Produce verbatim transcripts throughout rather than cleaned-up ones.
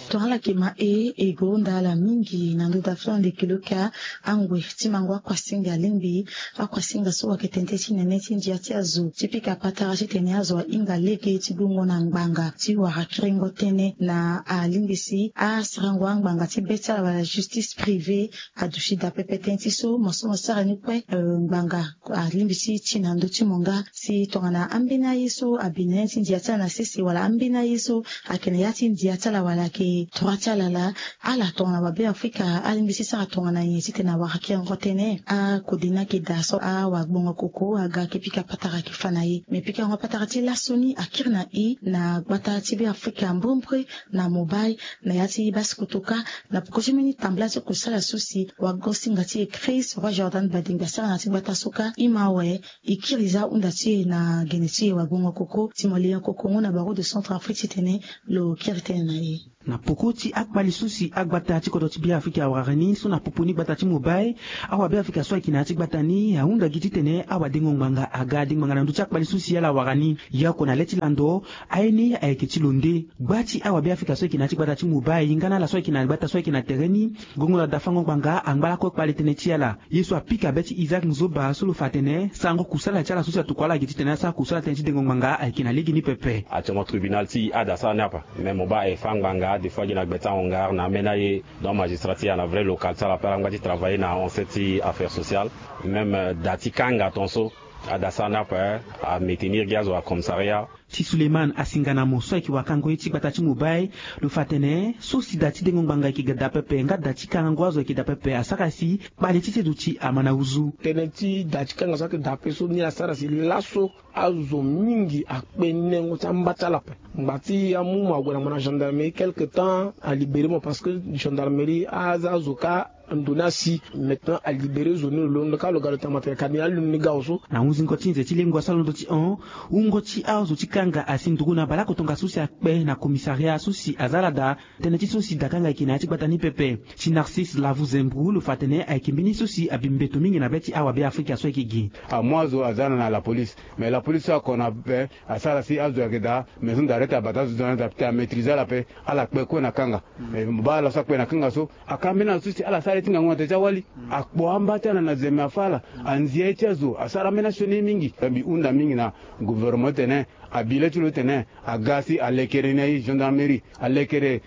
Tongana ala yeke ma e e gonda ala mingi na ndö dafa leke lo ka angwe ti mango akuasinga alingbi. Akuasinga so ayeke tene tënë ti nene ti ndia ti azo ti pika patara titene azo ahinga lege ti gongo na ngbanga ti wara kiringo tënë na alingbi si asarango angbanga ti be ti ala wala justice privée. Aduti daa pepe tënë ti so mo so mo sara ni kue ngbanga alingbi ti ti na ndö ti mo nga si tongana ambeni aye so abi na ya ti ndia ti ala na sese wala ambeni aye so ayeke na ya ti ndia ti ala wala ayeke droit ti ala laa. Ala tongana wabe afrika alingbi ti sara tongana nyen titene awara kiringo tënë. Akode ni ayeke daa so awagbongo koko aga ayeke pika patara ayeke fa na ye me pikango patara ti laso ni akiri na e na gbata ti be afrika mbrembre na mobile na ya ti basi kotoka. Na poko ti mbeni tambala ti kusala so si wagosinga ti e Chris Roy Jordan Badingbi asara na ya ti gbata so ka e ma awe. E kiri za ahunda ti e na gene ti e wagbongo koko ti mo lion koko ngu na baro de centre afrique titene lo kiri tënë na e. Na poko ti akpali so si agbata ti kodro ti be afrika awara ni so na popo ni gbata ti mobile. Awabe afrika so ayeke na ya ti gbata ni ahunda gi titene awadengo ngbanga aga adengo ngbanga na ndö ti akpali so si ala wara ni. Ye oko na le ti lando aye ni ayeke ti lo nde. Gba ti awabe afrika so ayeke na ya ti gbata ti mobile nga na ala so ayeke na gbata so ayeke na tere ni. Gongo na dafango ngbanga angba lakue kpale tënë ti ala. Ye so apika be ti isaac nzoba so lo fa atene sarango kusala ti ala so si atokua ala gi titene asara kusala tënë ti dengo ngbanga ayeke na lege ni pepe. Actuellement tribunal ti ada sara ni apa. Mais mo baa e fa ngbanga des fois gi na gbe ti ahongar na ambeni aye. Donc magistrat ti ala na vrai local ti ala ape ala ngba ti travailler na ancet ti affaire sociale. Même da ti kanga ton so ada sara ni ape amétenir gi azo na commissariat. Ti suleiman asinga na mo so ayeke wakango ye ti gbata ti mobile. Lo fa atene so si da ti dengo ngbanga ayeke daa pepe nga da ti kangango azo ayeke daa pepe asara si kpale ti seduti ama na uzu. Tënë ti da ti kanga so ayeke daa pepe so ni asara si laso azo mingi akpe nengo ti amba ti ala ape. Ngba ti amu mo ague na mo na gendarmerie quelque temps alibéré mo parce que gendarmerie aza azo ka ndo ni asi. Maintenant alibéré zo ni lo londo ka lo ga lo tanga matanga kani alondo ni ga oso. Na hunzingo ti nze ti lengo asara londo ti hon wungo ti azo ti kanga asi nduru na baleoko tongaso si akpe na commissariat so si aza ala daa. Tënë ti so si dakanga ayeke na ya ti gbata ni pepe. Ti narcisse lavu zembru lo fa atene ayeke mbeni so si abi mbeto mingi na be ti awabe afrika so ayeke gi. Amu azo aza na na lapolice. Mais lapolice so ako na ape asara si azo ayeke daa. Maison d'arrêt ti abata azo ti zo na azo ape ti amaîtrise ala ape. Ala kpe kue na kanga. Mais mo baa ala so akpe na kanga so aka ambeni ala so si ala sara ye ti ngangu na tere ti awali. Akpo amba ti ala na zeme afa ala. Anzi ye ti azo asara ambeni asioni ye mingi. Mbi hunda mingi na gouvernement titene abi le ti lo titene aga si alekere ni aye gendarmerie alekere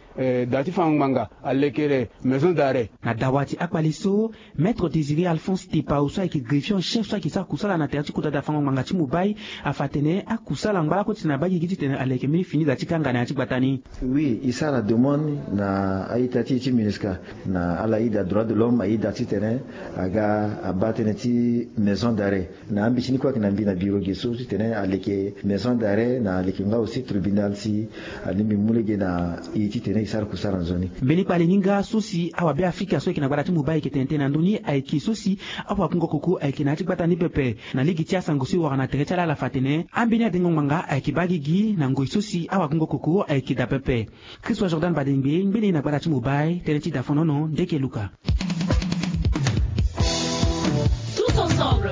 da ti fango ngbanga alekere maison d'arrêt. Na dawa ti akpali so maître désiré alphonse tepao so ayeke greffier en chef so ayeke sara kusala na tere ti kota dafango ngbanga ti mobile afa atene akusala angba lakue titene abaa gigi titene aleke mbeni fini da ti kanga na ya ti gbata ni. Oui e sara demande na a-ita ti e ti minusca na ala ida droit de l'homme a-ida titene aga abaa tënë ti maison d'arrêt. Na ambeti ni kue ayeke na mbi na biro ge so titene aleke maison d'arrêt na aleke nga aussi tribunal si alingbi mu lege na e titene e sara kusara nzoni. Mbeni kpale ni nga so si awabe afrika so ayeke na gbata ti mobile ayeke tene tënë na ndö ni ayeke so si awakungo koko ayeke na ya ti gbata ni pepe. Na lege ti asango so e wara na tere ti ala ala fa atene ambeni adengo ngbanga ayeke baa gigi na ngoi so si awakungo koko ayeke daa pepe. Christophe jordan badengbe ngbene na gbata ti mobile tënë ti dafonono ndeke luka. Tous ensemble.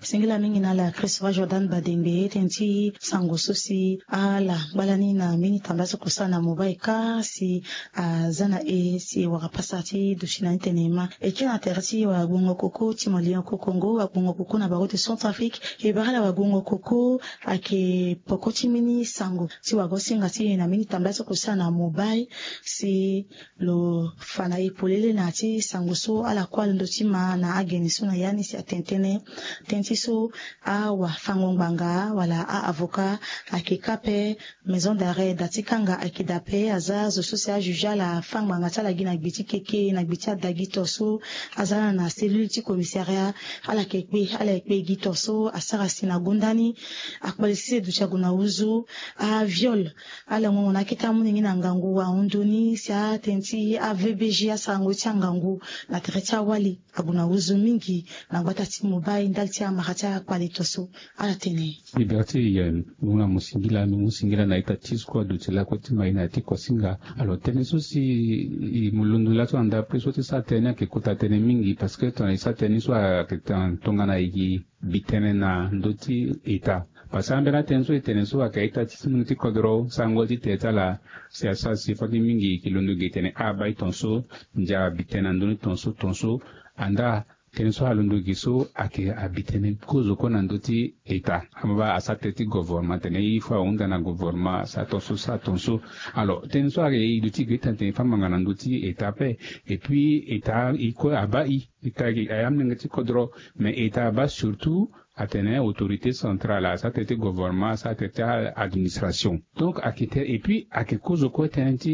Singila mingi na ala christophe jordan badengbe tënë ti sango so si ala ngbalani na mbeni tambala so kosala na mobile ka si aza na e si e wara pasa ti duti na ni tene e ma. E kiri na tere ti wagbongo koko ti molion kokongo wagbongo koko na baro ti centre afrique. E bara ala wagbongo koko ayeke poko ti mbeni sango ti wagosinga ti e na mbeni tambala so kosala na mobile si lo fa na e polele na ya ti sango so ala kue alondo ti ma na agene so na ya ni si atene tënë tënë ti so awafango ngbanga wala a-avocat ayeke kâ ape. Maison d'arrêt da ti kanga ayeke daa pe aza zo so si ajuge ala afâ ngbanga ti ala gi na gbe ti keke na gbe ti ada gi to so aza ala na cellule ti commissariat. Ala yeke kpe ala yeke kpe gi to so asara si na gonda ni akpali sese duti ague na uzu. Aviol ala ngongo na akete amolenge na ngangu ahon ndo ni si atënë ti avbg asarango ye ti angangu na tere ti awali ague na uzu mingi. Na gbata ti mobile ndali ti amara ti akpali to so ala tene. Liberté yen ngu na mo singila mbi mu singila na ita ti sukua duti lakue ti ma ye na ya ti kosinga. Alors tënë so si mo londo laso na ndapre so ti sara tënë ni ayeke kota tënë mingi parce que tongana e sara tënë ni so ayeke tongana e gi bi tënë na ndö ti eta. Parce que ambeni atënë so e tene so ayeke ita ti mungo ti kodro sango ti te ti ala. Si asara si fade mingi e ke londo gi e tene abaa e tongaso, ndia abi tënë na ndö ni tongaso tongaso. Andaa tënë so alondo gi so ayeke abi tënë kozo kue na ndö ti eta. Amaba asara tënë ti govorma atene il faut ahunda na govorma asara tongaso sara tongaso. Alors tënë so ayeke e duti gi e tene tene e fa ngbanga na ndö ti eta ape. Et puis eta e kue abaa e eta gi aye amolenge ti kodro. Mais eta abaa surtout atene autorité centrale asara tënë ti govorma asara tënë ti administration. Donc ayeke tënë et puis ayeke kozo kue tënë ti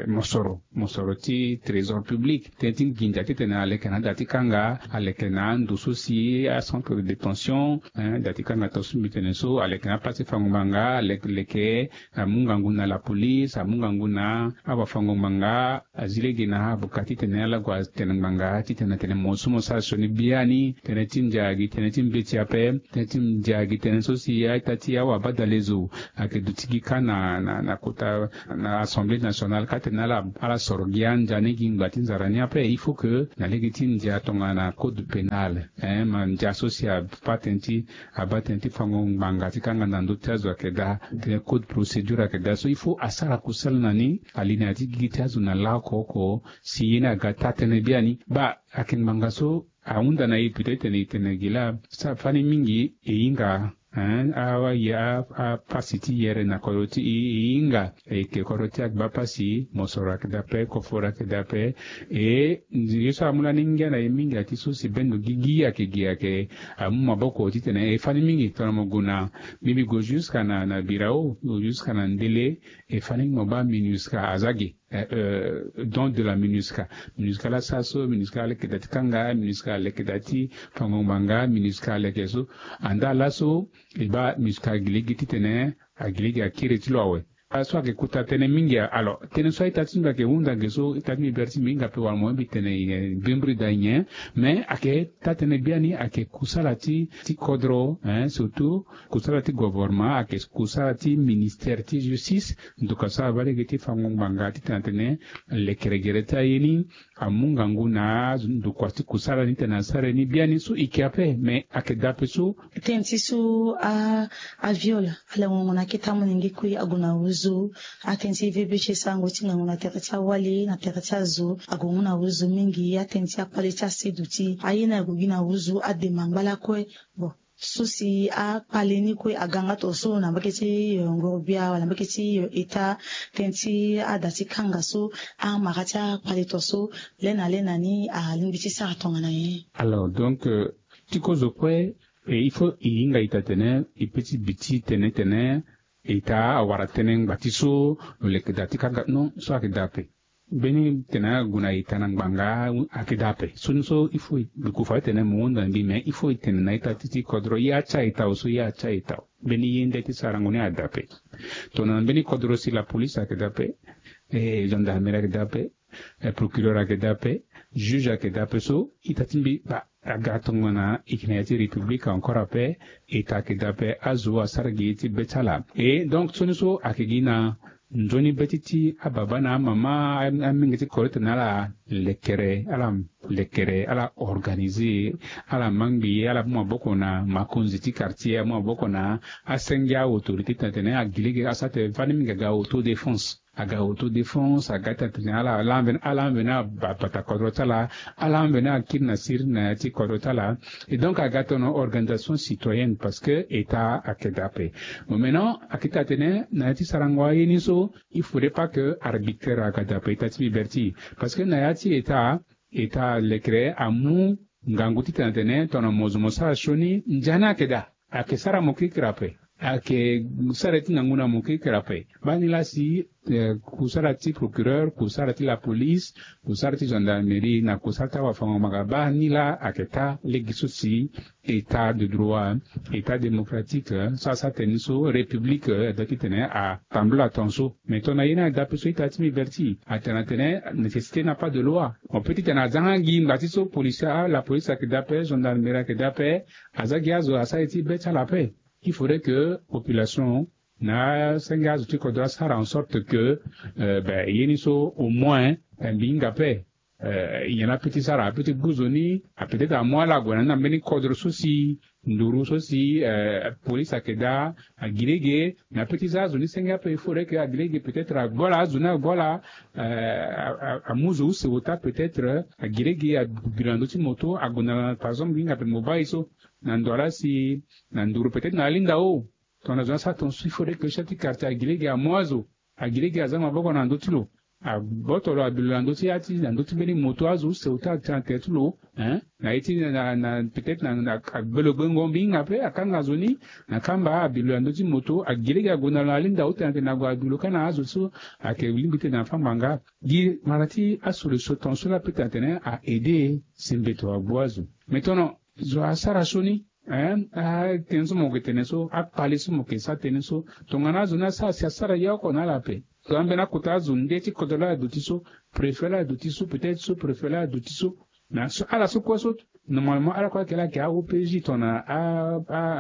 mosoro mosoro ti trésor public tënë ti nginza titene aleke na ada ti kanga, aleke na ando so si acentre de détention, da ti kanga tongaso mbi tene so aleke na place ti fango ngbanga, aleke amu ngangu na la police, amu ngangu na awafango ngbanga, azi lege na avocat titene ala gue atene ngbanga titene atene mo so mo sara sioni biani. Tënë ti ndia gi tënë ti mbeti ape. Tënë ti ndia gi tënë so si aita ti awabadalezo ayeke duti gi kâ na na na kota na assemblée nationale kâ tene ala ala soro gi andia ni gi ngba ti nzara ni ape. Il faut que na lege ti ndia tongana code pénal, hein, ma ndia so si abaa tënë ti abaa tënë ti fango ngbanga ti kanga na ndö ti azo ayeke daa. Tënë code procédure ayeke daa so il faut asara kusala na ni. Alinéa ti gigi ti azo na laoko oko si ye ni aga taa tënë biani. Baa ayeke ngbanga so ahunda na e peut-être tene e tene gi laa. Sara fani mingi e hinga hein, aye apasi ti yere na kodro ti e e hinga. E yeke kodro ti agba pasi mosoro ayeke daa ape koforo ayeke daa ape. E ye so amu lani ngia na e mingi ati so si bendo gigi ayeke gi ayeke amu maboko titene e fani mingi tongana mo gue na mbi mbi gue jusqu'à na na birao jusqu'à na ndele. E fani mingi mo baa minusca aza ge. Don de la minusca. Minusca la sara so minusca aleke daa ti kanga minusca aleke daa ti fango ngbanga minusca aleke so. Andaa laso e baa minusca agi lege titene agi lege akiri ti lo awe. Ala so ayeke kota tënë mingi. Alors tënë so aita ti mbi ayeke hunda ge so ita ti mbi bere ti mbi hinga ape wala mo mbi tene nyen mbirimbiri daa nyen. Mais ayeke taa tënë biani ayeke kusala ti ti kodro hein surtout kusala ti govorma ayeke kusala ti ministère ti justice. Ndoka so aba lege ti fango ngbanga titene atene lekere gere ti aye ni amu ngangu na ndokua ti kusala ni tene asara ye ni biani so e ke ape mais ayeke daa ape so. Tënë ti so a aviol ala ngongo na akete amolenge kue ague na wuzu. Atënë ti vbc sarango ti ngangu na tere ti awali na tere ti azo ague ngu na wuzu mingi. Atënë ti akpale ti aseduti aye ni ague gi na wuzu adema ngba lakue. Bon so si akpale ni kue aga nga tongaso na mbage ti ngorobia wala mbage ti eta. Tënë ti ada ti kanga so amara ti akpale tongaso le na le na ni alingbi ti sara tongana nyen? Alors donc ti kozo kue il faut e hinga ita tene e pe ti bi ti tene tene eta awara tënë ngba ti so lo leke daa ti kanga non so ayeke daa ape. Mbeni tene ague na eta na ngbanga ayeke daa ape so ni so il faut e bi kufa ti tene mo hunda na mbi mais il faut e tene na ita ti ti kodro ye atia eta awe so ye atia eta awe. Mbeni ye nde ti sarango ni ada ape. Tongana mbeni kodro si la police ayeke daa ape, gendarmerie ayeke daa ape, procureur ayeke daa ape, juge ayeke daa ape so ita ti mbi baa aga tongana e yeke na ya ti république encore ape. Eta ayeke daa ape azo asara gi ye ti be ti ala. E donc so ni so ayeke gi na nzoni be ti ti ababa na amama amenge ti kore tene ala lekere ala lekere ala organiser ala ma ngbi ala mu maboko na makonzi ti quartier amu maboko na asenge aautorité tene tene agi lege asara tene fani mingi aga autodéfense. Aga autodéfense aga ti atene ala ala ambeni ala ambeni abata kodro ti ala. Ala ambeni akiri na siri na ya ti kodro ti ala. Et donc aga tono organisation citoyenne parce que eta ake daa ape. Bon maintenant ake ti atene na ya ti sarango aye ni so il faudrait pas que arbitraire aga daa ape eta ti liberté parce que na ya ti eta eta lekere amu ngangu ti tene atene tongana mo zo mo sara sioni ndia ni ake daa. Ake sara mo kirikiri ape. Ake sara ye ti ngangu na mo kirikiri ape. Baa ni laa si kusara ti procureur kusara ti la police kusara ti gendarmerie na kusara ti awafango-ngbanga baa ni laa ake taa lege so si état de droit état démocratique so asara tene ni so république adoit ti tene atambula tongaso. Mais tongana ye ni ada ape so ita ti mbi bere ti atene atene nécessité na pas de loi. Mo pe ti tene aza nga gi ngba ti so policier ah la police ayeke daa ape gendarmerie ayeke daa ape. Aza gi azo asara ye ti be ti ala ape. Il faudrait que population na asenge azo ti kodro asara en sorte que ben ye ni so au moins mbi hinga ape. Nyen la pe ti sara ape ti gu zo ni a peut-être amu ala ague na ni na mbeni kodro so si nduru so si police ayeke daa. Agilege na petit za azo ni senge ape il faudrait que agilege peut-être agbola azo ni agbola amu zo use ota peut-être agilege abibi lo na ndö ti moto ague na par exemple hinga pe mobile so na ndo ala si na nduru peut-être na alinda o. Tongana zo ni asara tongaso il faudrait que chef ti quartier agilege amu azo agilege aza maboko na ndö ti lo. Aboto lo abi lo na ndö ti ya ti na ndö ti mbeni moto azo use ota atene na tere ti lo. Na ye ti na na peut-être na agbe lo gbengo mbi hinga ape akanga zo ni na kamba abi lo na ndö ti moto agilege ague na lo na alinda o tene atene ague abi lo kâ na azo so ayeke lingbi tene afâ ngbanga. Gi mara ti asolution tongaso la peut tene atene a aide si mbeto agbu azo. Mais tono zo asara sioni. Tënë so mo yeke tene so akpale so mo yeke sara tënë so tongana azo ni asara si asara ye oko na ala ape. Tongana ambeni akota azo nde ti kodro la aduti so préfet la aduti so peut-être so préfet la aduti so. Mais ala so kue so normalement ala kue ayeke la ayeke a-opj tongana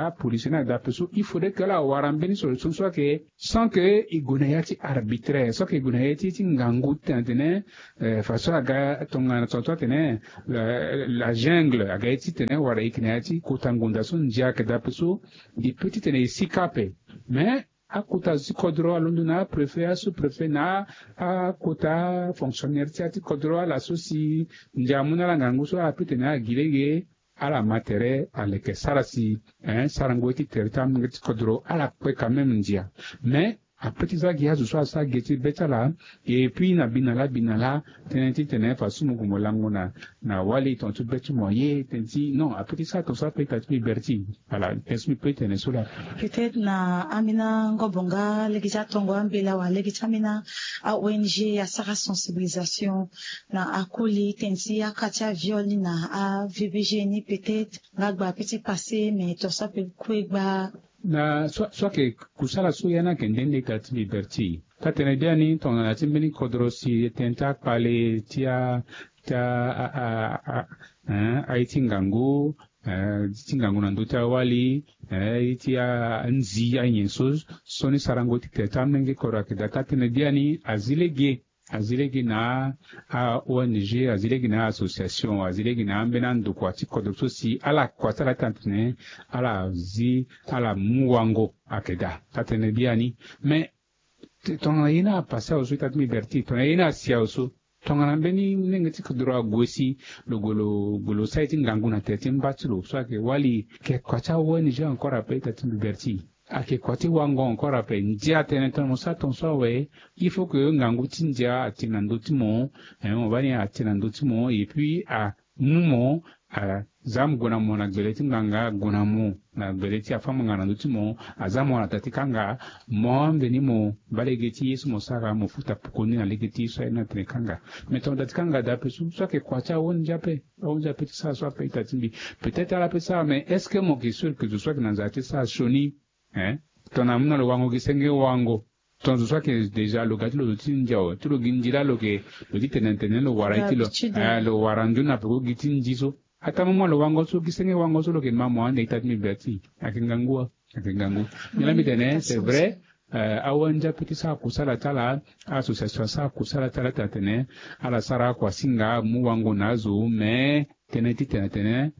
apolisie ni adape so il faudrait que ala wara mbeni solution so ayeke sans que e gue na ya ti arbitraire so ayeke e gue na ya ti ti ngangu ti tene atene façon aga tongana tongaso atene la jungle aga ye ti tene wala e yeke na ya ti kota ngonda so ndia ayeke dape so. E peut ti tene e si ka ape. Mais akota zo ti kodro alondo na apréfet asous-préfet na akota fonctionnaire ti ya ti kodro ala so si ndia amu na ala ngangu so ala peut tene ala gi lege ala ma tere aleke sara si sarango ye ti tere ti amolenge ti kodro ala kpe quand même ndia. Mais ape ti za gi azo so asara ge ti be ti ala. Et puis na bi na laa bi na laa tënë ti tene fa so mo gue mo lango na na wali tonga ti be ti mo ye tënë ti non ape ti sara tonga so ape ita ti mbi berti. Ala tënë so mbi peut ti tene so laa. Peut-être na ambeni angobo nga lege ti atongo ambela wala lege ti ambeni a-ong asara sensibilisation na akoli tënë ti aka ti aviol ni na avbg ni peut-être nga gba ape ti passé mais tonga so ape kue gba. Na so ayeke kusala so ya ni ayeke nde nde ita ti mbi berti. Taa-tënë biani tongana ti mbeni kodro si tënë ti akpale ti a ti a a a a aye ti ngangu ti ngangu na ndö ti awali aye ti anzi anyen so so ni sarango ti tere ti amolenge kodro ayeke daa taa-tënë biani azi lege azi lege na a-ong azi lege na a-association azi lege na ambeni andokua ti kodro so si ala kua ti ala ti tene tene ala zi ala mu wango ayeke daa taa-tënë biani. Mais tongana ye ni apase awe so ita ti mbi berti tongana ye ni asi awe so tongana mbeni molenge ti kodro ague si lo gue lo gue lo sara ye ti ngangu na tere ti mba ti lo so ayeke wali ayeke kua ti a-ong encore ape ita ti mbi berti. Ayeke kua ti wango encore ape ndia atene tongana mo sara tongaso awe il faut que ngangu ti ndia atene na ndö ti mo. Mo baa ni atene na ndö ti mo et puis amu mo aza mo gue na mo na gbele ti ngbanga ague na mo na gbele ti afâ ngbanga na ndö ti mo aza mo na da ti kanga mo ambeni mo baa lege ti ye so mo sara mo futa poko ni na lege ti ye so aye ni atene kanga. Mais tongana da ti kanga daa ape so so ayeke kua ti a-ong ape a-ong ape ti sara so ape ita ti mbi peut-être ala peut ti sara mais est-ce que mo yeke sûr que zo so ayeke na nzara ti sara sioni Hein? Tongana amu na lo wango gi senge wango. Tongana zo so ayeke déjà lo ga ti lo zo ti ndia awe ti lo gi ndi laa lo yeke lo ti tene tene lo wara ye ti lo. Lo wara nzoni na peko gi ti ndi so. Ataa moment lo wango so gi senge wango so lo yeke ma mo ande ita ti mbi be ti ayeke ngangu wa. Ayeke ngangu. Mbi laa mbi tene c'est vrai. Awe ndia pe ti sara kusala ti ala. Association asara kusala ti ala ti atene ala sara akuasinga amu wango na azo mais tënë ti tene tene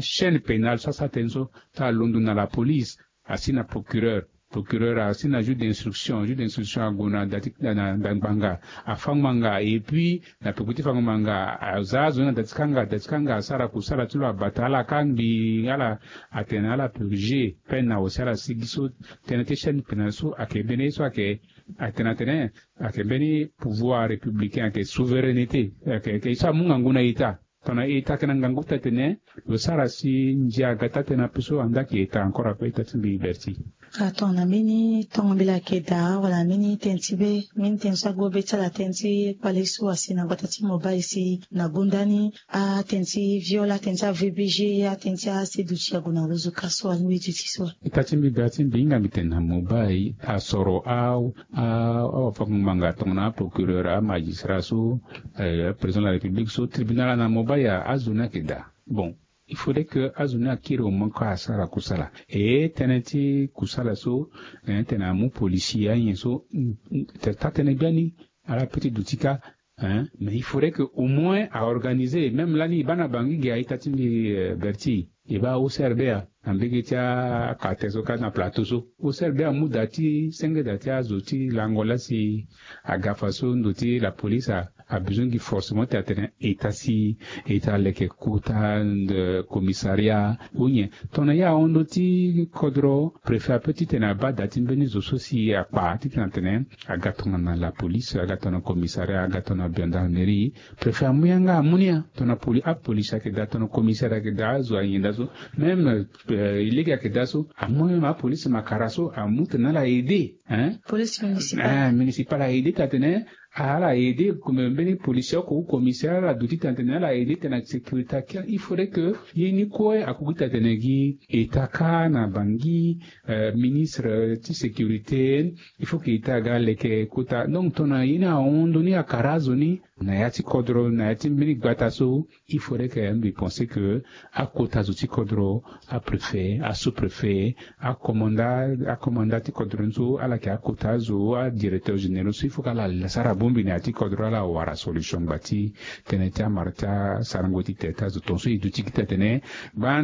chaîne pénale so asara tënë so ti alondo na la police asi na procureur. Procureur asi na juge d'instruction juge d'instruction ague na da ti na da ngbanga afa ngbanga et puis na peko ti fa ngbanga aza azo ni na da ti kanga da ti kanga asara kusala ti lo abata ala kangbi ala atene ala purger peine na awe si ala sigi so. Tënë ti chaîne pénale so ayeke mbeni ye so ayeke atene atene ayeke mbeni pouvoir républicain ayeke souveraineté ayeke ye so amu ngangu na ita. Tongana ita ayeke na ngangu ti atene lo sara si ndia aga ti atene ape so anda ayeke ita encore ape ita ti mbi berti. Atongana mbeni tongo mbela ayeke daa wala mbeni tënë ti be mbeni tënë so ague be ti ala tënë ti kpale so asi na gbata ti mobile si na gonda ni atënë ti viol atënë ti avbg atënë ti aseduti ague na rozo ka so alingbi duti so. Ita ti mbi berti mbi hinga mbi tene na mobile asoro a awafango-ngbanga tongana aprocureur amagistrat so président de la république so tribunal ana mobile azo ni ayeke daa. Bon, il faudrait que azo ni akiri au moins kue asara kusala e tënë ti kusala so tene amu policier anyen so. Taa tënë biani ala pe ti duti kâ. Mais il faudrait que au moins aorganiser même lani e baa na bangi ge aita ti mbi berti. E baa O C R B A na mbege ti akate so kâ na plateau so. O C R B A amu daa ti senge daa ti azo ti lango laa si aga fa so ndo ti la police a besoin gi forcément ti atene eta si eta leke kota commissariat ou nyen. Tongana ye ahon ndo ti kodro, préfet ape titene abaa daa ti mbeni zo so si akpa titene atene aga tongana la police, aga tongana commissariat, aga tongana gendarmerie. Préfet amu yanga amu ni ya tongana poli apolice ayeke daa tongana commissaire ayeke daa azo ahinda so. Même e lege ayeke daa so amu même apolice makara so amu tene ala aide. Police municipale. Municipale aide ti atene ala aide comme mbeni policier oko ou commissaire ala duti ti atene ala aide tene na sécurité akia il faudrait que ye ni kue akoki ti atene gi eta kâ na bangi ministre ti sécurité. Il faut que eta aga leke kota donc tongana ye ni ahon ndo ni akara azo ni na ya ti kodro na ya ti mbeni gbata so. Il faudrait que mbi pense que akota zo ti kodro, apréfet, asous-préfet, akomanda akomanda ti kodro ni so ala yeke akota azo adirecteur généraux so il faut que ala sara bongbi na ya ti kodro ala wara solution ngba ti tënë ti amara ti asarango ti tene ti azo tongaso e duti gi ti atene